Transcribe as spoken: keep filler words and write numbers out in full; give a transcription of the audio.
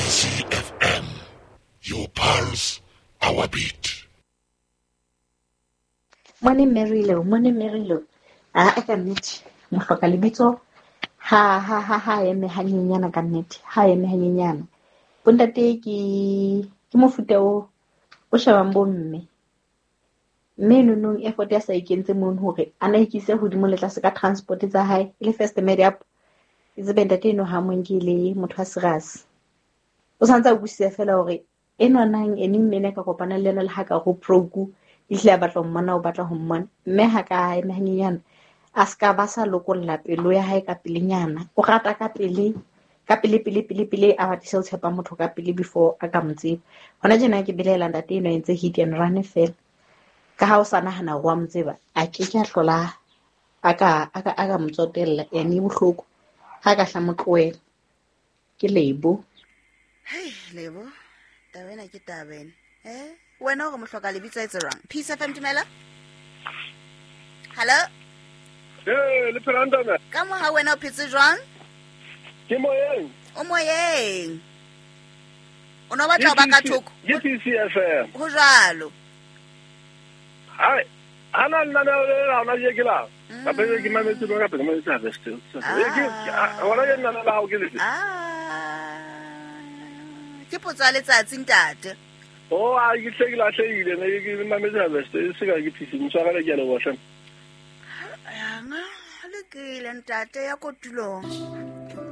P C F M. Your pulse, our beat. Mone Marylo, mone Marylo. A ka nnete mohloka lebitso ha ha ha ha eme hanyenyana ka nnete, ha eme hanyenyana. Bontate ke ke mofuta o o shebang bomme. Mme nonong effort ya sa ikentse mono hore a na ikise hodimo le tlase ka transport tsa hae e le first made up. E tsebe ntate eno ha mo nke le motho a serious. O santse a utlwisisa fela hore enwa nang ene mme ne ka kopana le yena le ha ka go broke ehlile a batla ho mmona, o batla ho mmona. Mme ha ka eme hanyenyana a ska ba sa lokolla pelo ya hae ka pelenyana. O rata ka pele, ka pele pele pele pele a batise ho tshepa motho ka pele before a ka mo tseba. Hona tjena ke belaela ntate enwa entse hit and run fela. Ka ha o sa nahana hore wa mo tseba, a ke ke a hlola a ka a ka a ka mo tsotella ene e bohloko ha ka hla mo tlohela. Ke Lebo. Hei Lebo, taba ena ke taba ena. Eh, wena o re mohloka lebitso etse jwang? Peace F M, dumela. Hello? Eh, le phela ntame. Ka mo ha wena o phetse jwang? Ke moyeng. O moyeng. O no batla ho ba ka thoko? Ke P C F M. Ho jwalo. Hai, ana nna na le la ona je ke la. Ka pele ke mametse ka pele mametse harvest. Eh ke hona ke nna la hao ke le. Ah. Ke potso ya letsatsi ntate. Oh, a ke tle ke lahlehile ne ke mametse harvest e se ka ke P C mtshwarele ke a leboha hle. Yanga, lokile ntate ya kotulong.